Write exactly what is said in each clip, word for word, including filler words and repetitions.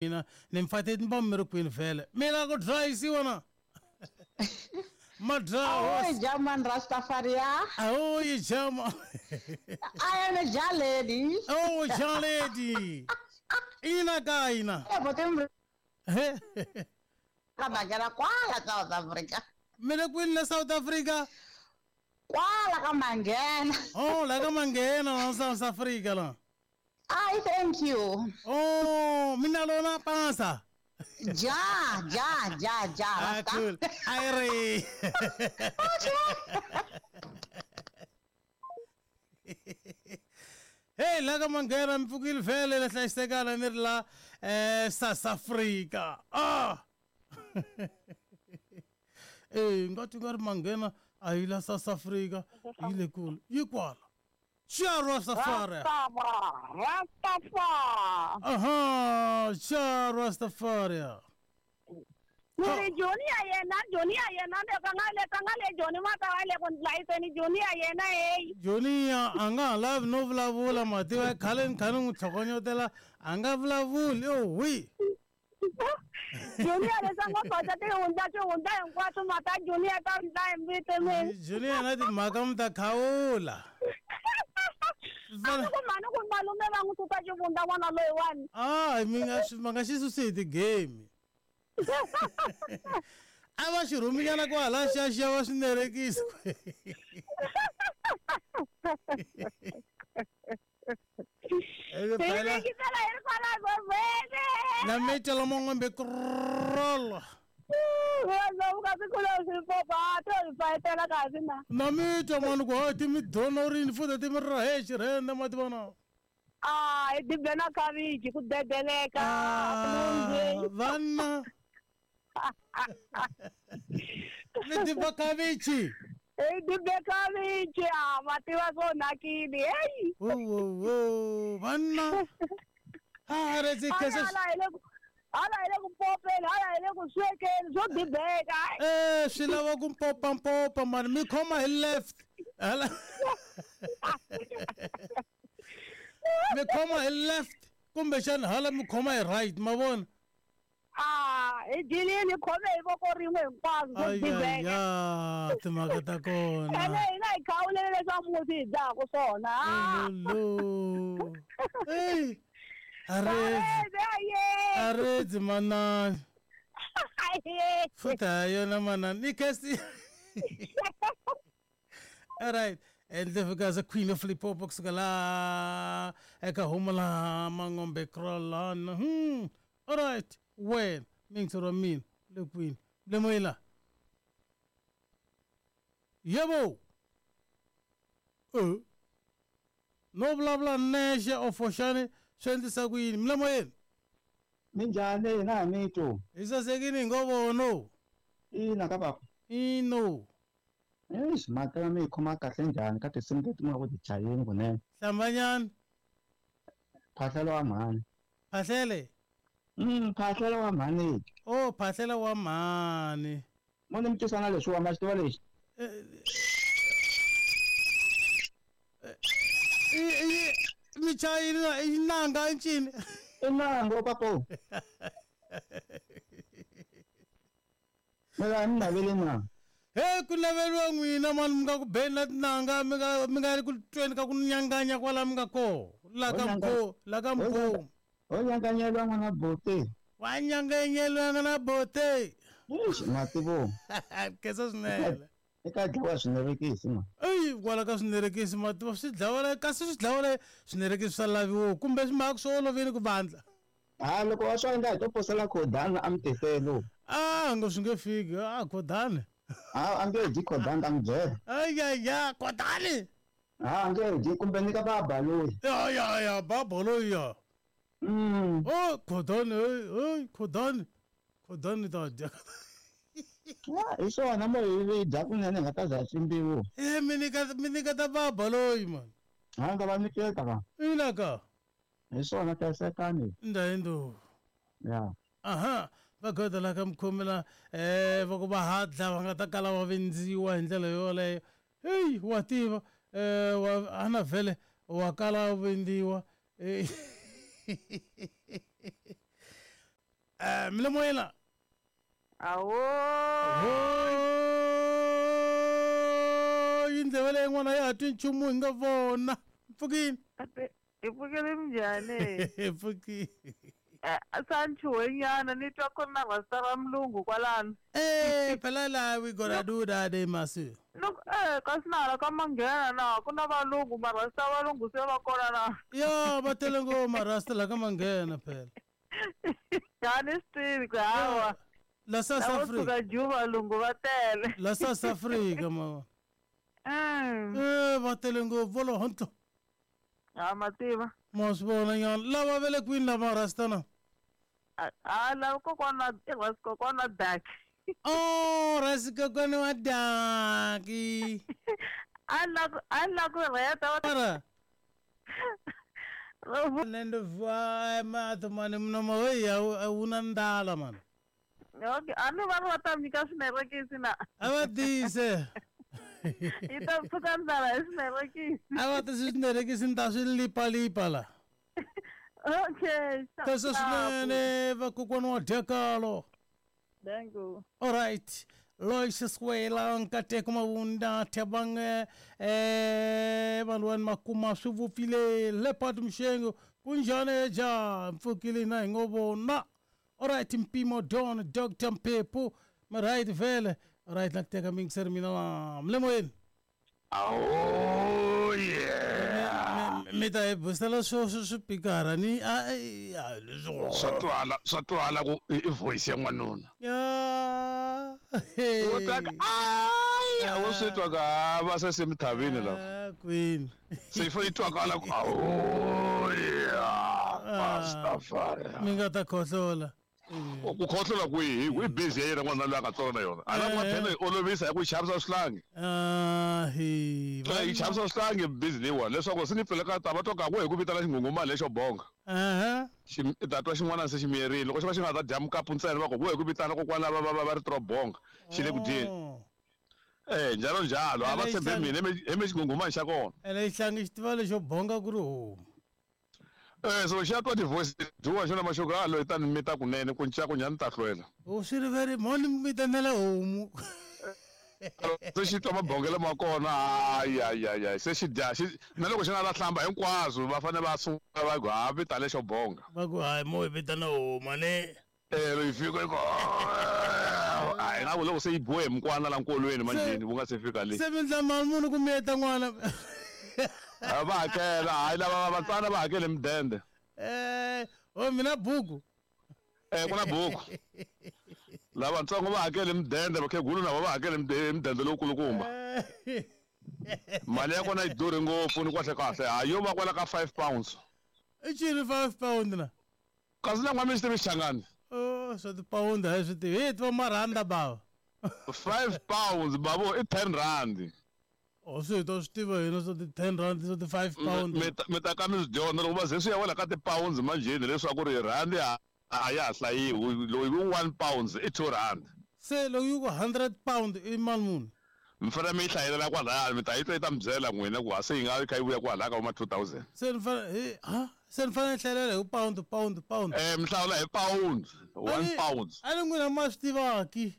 Mina ni mi fate ni va mi ri kwini vhele mina ku dlayisiwa na ma Oh, German Rastafaria. Oh, you German. I am a Jah lady. Oh, Jah lady. Ina ka ina. Eh, but I'm ka kwala South Africa. Mina kwini la South Africa? Kwala ka Mangena. Oh, la ka Mangena la South Africa la. I thank you. Oh, mina lona pansa. Ja, ja, ja, ja. Ah, cool. Aire. Hey, la ka Mangena mpfukile vhele la hlayisekana ni ri la eh South Africa. Ah. Eh, ngathi nga ri Mangena a yi la South Africa yi le kule. Yi kwala. Jah Rastafari. Rastafari. Aha, Jah Rastafari. Ni Johnny ayena, Johnny ayena le kangale kangale Johnny mata le kon live ni Johnny ayena eh. Johnny anga live no vulavula mativa khale khale n'wi tlhokonyotela anga vulavuli yo wi. Johnny ale sanga kota te unda te unda hinkwaswo mata Johnny ata ndla hi mbite mina. Johnny na timhaka mi ta khawula. A ku mani ku malume va n'wi suka xivundza n'wana loyiwani. Ah, mi nga ma nga xi susi hi ti-game. A va xi rhuminyana kwala xa xa va swi nerekisa. Na metela mongombe kroll. Na mita mani ku hayi ti mi donorini futhi ti mi rahe xirhende ma ti vona. Ah, i dibe na khavichi ku dedeleka. Vanna. Mi diba khavichi. I dibe khavichi, ah, ma tiva swo onhakile, hey. Wo wo wo, vanna. Ah, re kesa. Hala hi le ku popeni, hala hi le ku swekeni, swo dibeka. Eh, swi lava ku mpopa mpopa mani mi khoma hi left. Hala. Mi khoma hi left kumbexana hala mi khoma hi right, ma vona? Ah, hi dyilini hi khome hi voko rin'we hinkwaswo swo dibeka. Ya, timhaka ta kona. Ene hina hi khawulele leswa musi hi dyaka swona. Lolo. Hey. Aredzi. Aredzi manani. Futhi hayi yona manani. Ni All right. And the fika Queen of Limpopo kusuka la eka huma la Mangombe Krolana. Hmm. All right. When mingitoro mina le queen. Le moyela. Yebo. Eh. No bla bla neshe ofoshane swi endlisa ku yini mle moyeni? Minjhani hina hi mito. Hi sasekini hi ngo vono. Ina ka baba. Ino. Eish, mhaka ya mi yi khoma kahle njhani ka tinsimu leti mi nga ku ti chayeni kunene. Hlambanyani. Phahlelo wa mhani. Phahlele? Mm, phahlelo wa mhani. Oh, phahlela wa mhani. Mo ni mi twisa na leswiwa ma xi tiva lexi. Mi chayini na i nanga i ncini? I nanga papo. Mina mi naveli na. Hey, ku naveliwa n'wina mani mi nga ku beni na tinanga mi nga mi nga ri ku tweni ka ku nyanganya kwala mi nga koho la ka mkho la ka mkho. Ho nyanganyeliwa n'wana bote. Wa nyanganyeliwa n'wana bote. Eish, mativo. Kesa swinene. Eka dlawa swinerekisi ma. Eyi kwala ka swinerekisi mativa swi dlawa la kasi swi dlawa la swinerekisi swa laviwa kumbe swi mhaka swi olovile ku vandla. Ha loko wa swi endla hi to posela khodani a mi tiselo. Ah, ngo swi nge fiki ah khodani. Ha a nge dyi khodani ta n'wi byela. Ay ya ya khodani. Ha a nge dyi kumbe nyika baba loyi. Ya ya ya baba loyi ya. Mm. Oh khodani hey khodani khodani ta dya. Hi swona mo hi dya kunene hi nga ta za ximbiwa. Eh mi nyika mi nyika ta baba loyi man. Ha nga va nyiketa ka. Ina ka. Hi swona hlayisekani. Ndhayindo. Ya. Aha, va goda la ka mkhomela eh va ku va hadla va nga ta kala va vendziwa hi ndlela yoleyo. Hey, wa tiva eh wa ana vhele wa kala vendziwa. Eh, mi le moyeni la Awo. Oh, yindleve leyi n'wana ya ha twi nchumu hi nga vona mpfukini Hi pfukile minjhani? mpfukini Eh, sanchuhenyana ni twa ku ri na rasta ra mulungu kwalano. Eh, phela la we gonna do that eh masu Loko eh kasi na hala ka manghena na ku na valungu marasta valungu se va kona na. ya va tele ngopfu marasta la ka manghena phela A ni swi tivi ku hawa. La South Lavo Africa suka Ju valungu va tele. la South Africa mama Mm. eh va tele ngopfu volo hontlo Ha ma tiva. ma swi vona nyana lava va le kwini lava rasta na A a lava kokwana i rasta kokwana dak. oh rasi kokwana wa daki A la ku a la ku rheta va mara nendo va matho mani mnomo we ya wu na ndala mani Okay, a ni va ri va ta mi nyika swinerekisi na. a va tise Yi ta pfuka ndlala hi swinerekisi. a va tise swinerekisi ni ta swi lipalipa la Okay. tese swinene vakokwana wa dyakalo Thank you. Alright. Lois Swela Nkateko Mavunda Thabang eh vanhu makuma swi vupfile Leopard Mshengo kunjani ja mpfukile na hi ngo vona Alright Mpimo Don Doctor Mphephu right vele alright la ku teka mingiseri mina la mi le moyeni Oh yeah. mi ta hi busela swo swo swipikara ni a a leswo Swa twala swa twala ku i i voice ya n'wanuna. ya U twa ka ai a wu swi twa ka va se se mithavini la. Ah, kwini Se yi fanele yi twakala ku oh yeah. Rastafari. mi nga ta khohlola Ku khohlola kwihi hi busy ya yena n'wana loyi a nga tswala na yona. A la ku phela yi olovisa hi ku yi xavisa swihlangi. Ah, hi Yi xavisa swihlangi busy leyiwani leswaku se ni pfuleka ta va twa ka ku hi ku vitana xinghunghumani lexo bonga. aha Xi i ta twa xin'wana se xi miyerile loko xi va xi nga ta dya mukapu ntsena va ku vo hi ku vitana kokwana va va va va ri tro bonga xi le ku dyeni. Oh. Eh njalo njalo a va Ene tshembe xihlangi- mina hi me xinghunghumani xa kona. ene xihlangi xi tiva lexo bonga ku ri homu Eh so xi ya twa ti-voice dyiwa xona maxoko a loyi tani mi ta kunene ku nca ku njhani ni ta hlwela. o swi riveri mhoni mi vitanela homu Se xi twa mabongelo ma kona hayi hayi hayi hayi se xi dya xi na loko xi nga ta hlamba hinkwaswo va fanele va sungula va ku ha vita lexo bonga. va ku hayi mo hi vitana homu ane Eh loko yi fika yi ku a hi nga ku loko se yi biwe hi mukwana la nkolweni manjheni wu nga se fika le. se mi ndla mali munhu ku miyeta n'wana A va hakela hayi lava vatsana va hakele mudende. Eh, o mina buku Eh ku na buku. Lavatsongo va hakele mudende vakhegulu na vona va hakele mudende mudende lowukulukumba. Eh, Mali ya kona yi durhi ngopfu ni kahle kahle hayi yo va kwala ka five pounds. i cini five pound na Kasi na n'wa mi swi tivi Xichangani. o swa tipawundi a hi swi tivi hi tiva marhanda bava Five pounds bavo i ten rand. o swi hi to swi tiva hina swa ti-ten rand swa ti-five pound Mi ta mi ta ka mi swi dyondza loko va ze swi ya wela ka ti-pounds manjheni leswaku ri rhandi a a ya ha hlayiwi loyi wu one pounds i two rand. se loko yi ku hundred pound i mali muni Mi fanele mi yi hlayelela kwalaya mi ta yi twa yi ta mi byela n'wina ku ha se yi nga kha yi vuya kwalaya ka vo ma two thousand. se ni fanele hi ha se ni fanele ni hlayelela hi pound pound pound Eh mi hlawula hi pound one A ni- pound. a ni n'wina ma swi tivaki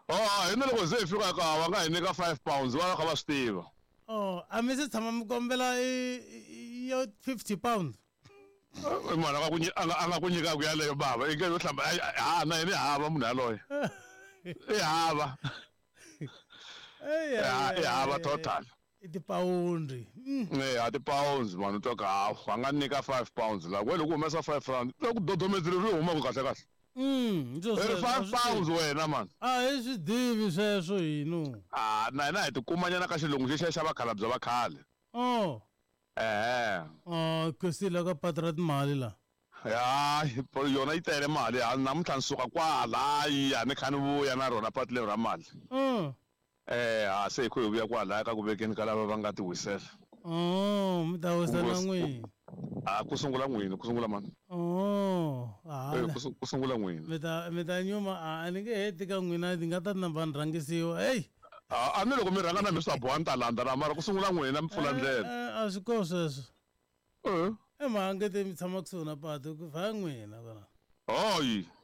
Oh hi na loko ze hi fika ka va nga hi nyika five pounds va va kha va swi tiva. oh a mi se tshama mi kombela i i- yo fifty pound I munhu a nga ku nyi- a nga a nga ku nyikaku yaleyo bava i nge yo hlamba ha na yena i hava munhu yaloye. I hava. Eyi, I eyi, hava eyi, total. i tipawundi Mm. Eh a ti-pounds vanhu twa ka hawu va nga nyika five pounds la we loko u humesa five rand loko dodomedzile ri humaka kahle kahle. Mm, ndzi I ri sweswo, five a swi pounds tivi. wena man. a hi swi tivi sweswo hino Ah na hina hi tikumanyana ka xilungu xexiya xa vakhalabye va khale. oh Ehe. oh kosila ka patu ra timali la Ya yona yi tele mali ha namuntlha ni suka kwalaya ni kha ni vuya na rona patu leri ra mali. Mm. Eh ha se hi kho hi vuya kwalaya ka ku vekeni ka lava va nga ti wisela. oh mi ta wisa na Ku- n'wina Ah ku sungula n'wini ku sungula mani. oh Eh, hala ku su- ku sungula n'wini. mi ta mi ta nyuma a ni nge heti ka n'wina ni nga ta namba ni rhangisiwa heyi Ah a ni loko mi rhanga na mi swi ta boha ni ta landza na mara ku sungula n'wina mi pfula ndlela. Eh, a swi ko sweswo Eh. i mhangete mi tshama kusuhi na patu ku vhaya n'wina kona Hayi.